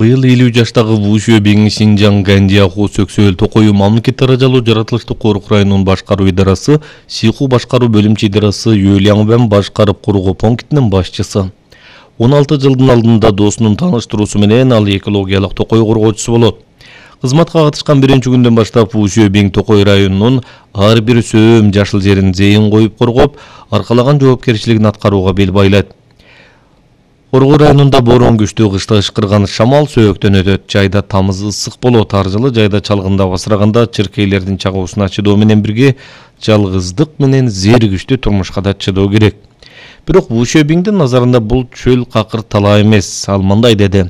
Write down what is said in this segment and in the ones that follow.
Быйыл 50 жаштагы Ву Шуэбиң Шинжаң Ганжиаху Сөксөөл Токою мамлекет даражалуу жаратылыштык корuk районунун башкаруу идарасы, Сиху башкаруу бөлүмчө идарасы Юэлянбэн башкарып куруу пунктинин башчысы. 16 жылдын алдында досунун тааныштыруусу менен ал экологиялык токой коргоочусу болот. Кызматка катышкан биринчи күндөн баштап Ву Шуэбиң Токой районунун ар бир сөөм жашыл жерин зейин коюп коргоп, аркалаган жоопкерчилигин аткарууга бел байлайт. Коргоо районунда боорон күчтүү, кышта ышкырган шамал сөөктөн өтөт. Жайда тамыз ысык болот. Ар жылы жайда чалгында басыраганда чыркейлердин чагуусуна чыдоо менен бирге жалгыздык менен зеригиштүү турмушка да чыдоо керек. Бирок Ву Шуэбиңдин назарында бул чөл какыр талаа эмес. Ал мындай деди: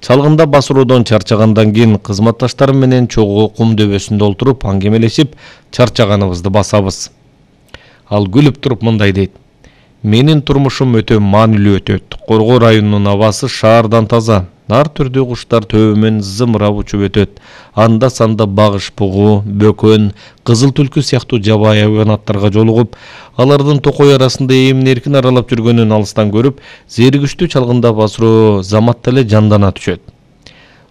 чалгында басыроодон чарчагандан кийин кызматташтарым менен чогуу кум дөбөсүндө олтуруп аңгемелешип чарчаганыбызды басабыз. Ал күлүп туруп мындай дейт: менин турмушум өтө маанилүү өтөт. Коргоо районунун абасы шаардан таза. Ар түрдүү куштар төбөмөн зымырап учуп өтөт. Анда санда багыш бугу, бөкөн, кызыл түлкү сыяктуу жабайы хайванаттарга жолугуп, алардын токой арасында эмин-эркин аралап жүргөнүн алыстан көрүп, зеригиштүү чалгында басыроо заматта эле жандана түшөт.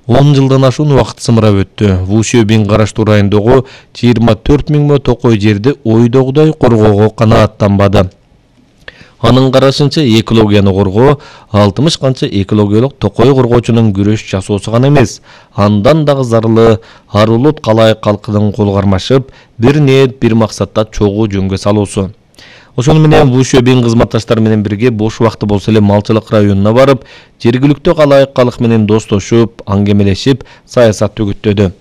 10 жылдан ашуун убакыт сымырап өттү. Ву Шуэбиң караштуу райондогу 24 миң токой жерди ойдогудай коргоого канааттанбады. Анын карашынча экологияны коргоо 60 канча экологиялык токой коргоочунун күрөш жасоосу гана эмес, андан дагы зарылы ар улут калайык калкынын кол кармашып, бир ниет, бир максатта чогуу жөнгө салуусу. Ошону менен Ву Шуэбиң кызматташтары менен бирге бош убакыты болсо эле малчылык районуна барып, жергиликтүү калайык калк менен достошуп, аңгемелешип, саясат үгүттөдү.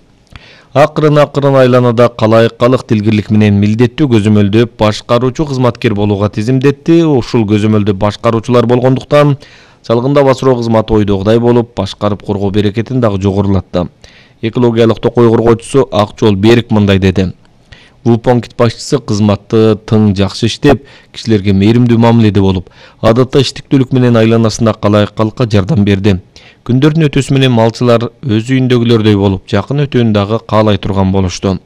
Акырын айланада калайык калк дилгирлик менен милдеттүү көзөмөлдөп башкаруучу кызматкер болууга тизимдетти. Ушул көзөмөлдө башкаруучулар болгондуктан чалгында басыроо кызматы ойдогудай болуп, башкарып коргоо берекетин дагы жогорулатты. Экологиялык токой коргоочусу Акчол Берик мындай деди: Ву пункт башчысы кызматты тың жакшы иштеп, кишилерге мээримдүү мамиледе болуп, адатта иштиктүүлүк менен айланасында калайык калкка жардам берди. Күндөрдүн өтүүсү менен малчылар өз үйүндөгүлөрдөй болуп, жакын өтүүнү дагы каалай турган болушту.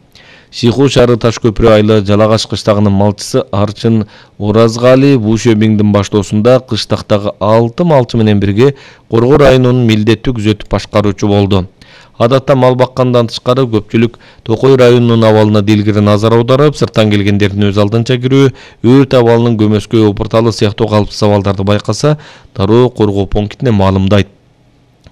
Сиху шаары Таш көпүрө айылы Жалагаш кыштагынын малчысы Арчын Оразгали Ву Шуэбиңдин баштоосунда кыштактагы 6 малчы менен бирге Коргоо районунун милдеттүү күзөтүп башкаруучу болду. Адатта мал баккандан тышкары көпчүлүк Токой районунун абалына дилгири назар аударып, сырттан келгендердин өз алдынча кирүү, өрт абалынын көмөскө опурталы сыяктуу калыпсыз абалдарды байкаса, дароо коргоо пунктине маалымдайт.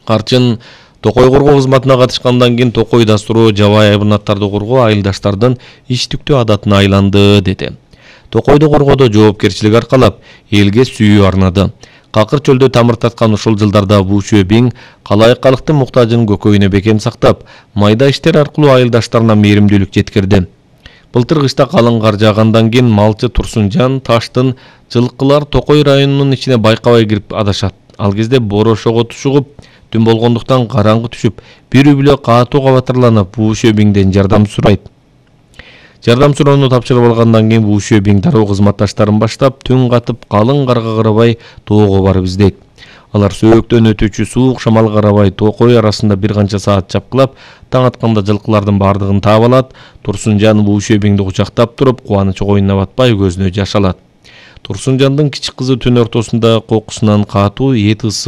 Арчын токой коргоо кызматына катышкандан кийин токой дастуру жабайы хайванаттарды коргоо айылдаштардын иштиктүү адатына айланды, деди. Токойду коргоодо жоопкерчилик аркалап, элге сүйүү арнады. Какыр чөлдө тамыр таткан ушул жылдарда Ву Шуэбиң калайык калктын муктажын көкөйүнө бекем сактап, майда иштер аркылуу айылдаштарына мээримдүүлүк жеткирди. Былтыр кышта калың кар жаагандан кийин малчы Турсунжан Таштын жылкылар Токой районунун ичине байкабай кирип адашат. Ал кезде борошого тушугуп, түн болгондуктан караңгы түшүп, бир бүлө катуу кабатырланып Ву Шуэбиңден жардам сурайт. Жардам суроону тапшырып алгандан кийин Ву Шуэбиң дароо кызматташтарын баштап, түн катып, калың карга карабай тоого барып издейт. Алар сөөктөн өтүүчү суук шамал карабай Токой арасында бир канча саат чапкылап, таң атканда жылкылардын бардыгын таап алат. Турсунжан Ву Шуэбиңди кучактап туруп, кубанычы коюнуна батпай көзүнө жаш алат. Турсунжандын кичик кызы түн ортосунда кокусунан катуу эт ысы